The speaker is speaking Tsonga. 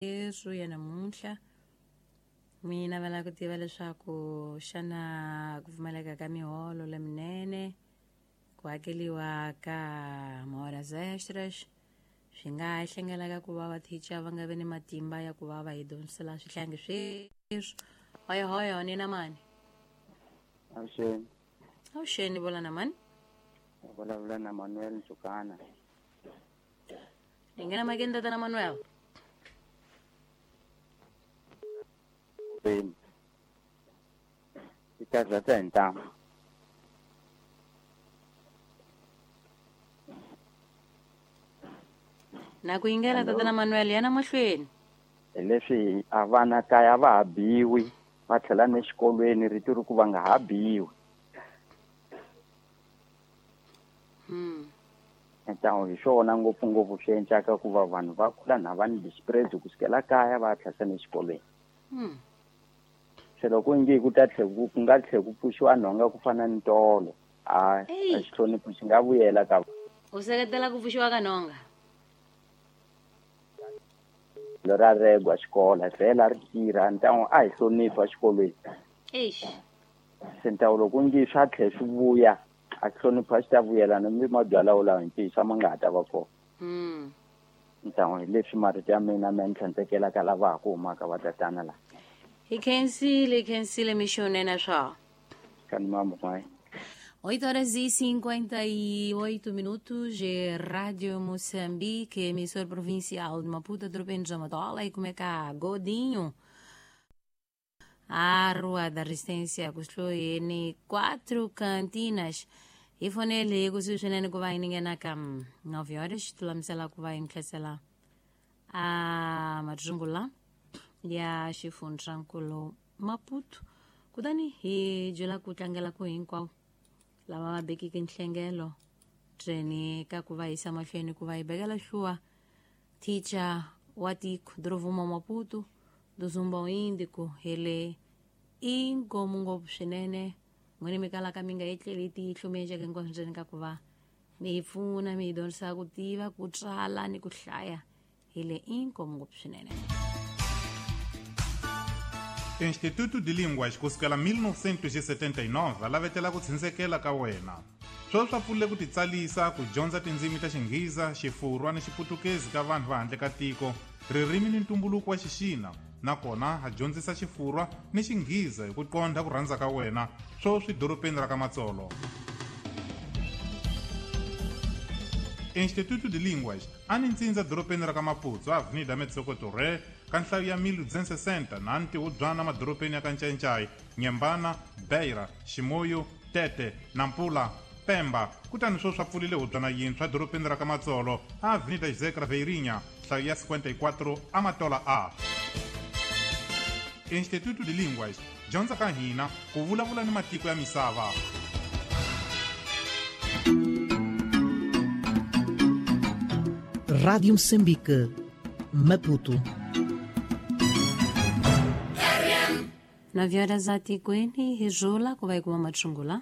Yesu ya namuntlha mi navela ku tiva leswaku xana ku pfumaleka ka miholo leminene, ku hakeliwa ka mahoras extras swi nga hlengelaka ku va vathicha va nga vi ni matimba ya ku va va hi dyondzisela swihlangi sweswi. Hoyohoyo ni na mani? Avuxeni. Avuxeni, vula na mani? U vulavula na Manuel Ndzukana. Ni nghena makeni, tatana Manuel. Veni. Ti karhata hi ntamu. Na ku yingela, tatana Manuel, yana mahlweni. Hi leswi a vana kaya va ha biwi, va tlhela ne xikolweni rito ri ku va nga ha biwi. Ntamu hi swona ngopfungopfu swi endlaka ku va vanhu va kula na va ni dispread ku sukela kaya va tlhela ne xikolweni. Se loko nge ku ta tlhe ku ku nga tlhe ku pfuxiwa nhonga ku fana ni tolo, a Ey. a xihlonipho xi nga vuyela ka. U seketela ku pfuxiwa ka nhonga? Ra regwa xikolo vhela ri tirha ntamu a hi hlonipha xikolweni. Eish. Se ntamu loko nge swa tlhe swi vuya, a hlonipha xi ta vuyela ni mi mabyala wolawo hi ntiyiso a ma nga ha ta va kona. Ntamu hi leswi marito ya mina ma ni tlhandlekela ka lava ha ku humaka va tatana la. Hi khensile, hi khensile mixonene swa. Kani mambo mai. 8 horas e 58 minutos, é Rádio Moçambique, emissora provincial de Maputo, Tropendo Matola, e como é que há? Godinho. A Rua da Resistência, kusuhi ni quatro cantinas. Hi fonele kusuhi swinene ku va hi ninghena ka 9 horas, tulamisela ku va hi ntlhesela a matsungula ya xifundzankulu Maputo. Kutani hi byela ku tlangela ku hinkwavo lava va bekeke nhlengelo ndzeni ka ku va yisa mahlweni ku va hi bekela hluwa thicha wa tiko Drovuma Maputo Duzumba Índico hele inkomu ngopfu swinene n'wini mi kalaka mi nga etleli tihlo mi endleke hinkwaswo ndzeni ka ku va mi hi pfuna mi hi dyondzisa ku tiva ku tsala ni ku hlaya hele inkomu ngopfu swinene. Instituto de Línguas ku sukela 1979 va lavetela ku tshindzekela ka wena. Sweswi swa pfulile ku titsalisa ku dyondza tindzimi ta Xinghiza, Xifurwa ni Xiputukezi ka vanhu va handle ka tiko, ririmi ni ntumbuluko wa Xixina, nakona ha dyondzisa Xifurwa ni Xinghiza hi ku qondha ku rhandza ka wena, sweswi dorobeni ra ka Matsolo. Instituto de Línguas a ni ntsindza dorobeni ra ka Maputo, Avenida Metsoko Torre, ka nhlayo ya 1260 na ntihubyana madorobeni ya ka Ncayincai, Nyembana, Beira, Ximoyo, Tete, Nampula, Pemba. Kutani swo swa pfulile hubyana yintshwa dorobeni ra ka Matsolo, Avenida José Craveirinha, nhlayo ya 54, Amatola A. Instituto de Línguas, dyondza ka hina ku vulavula ni matiko ya misava. Rádio Moçambique, Maputo. 9 horas a tikweni hi rhula ku va hi kuma matsungula.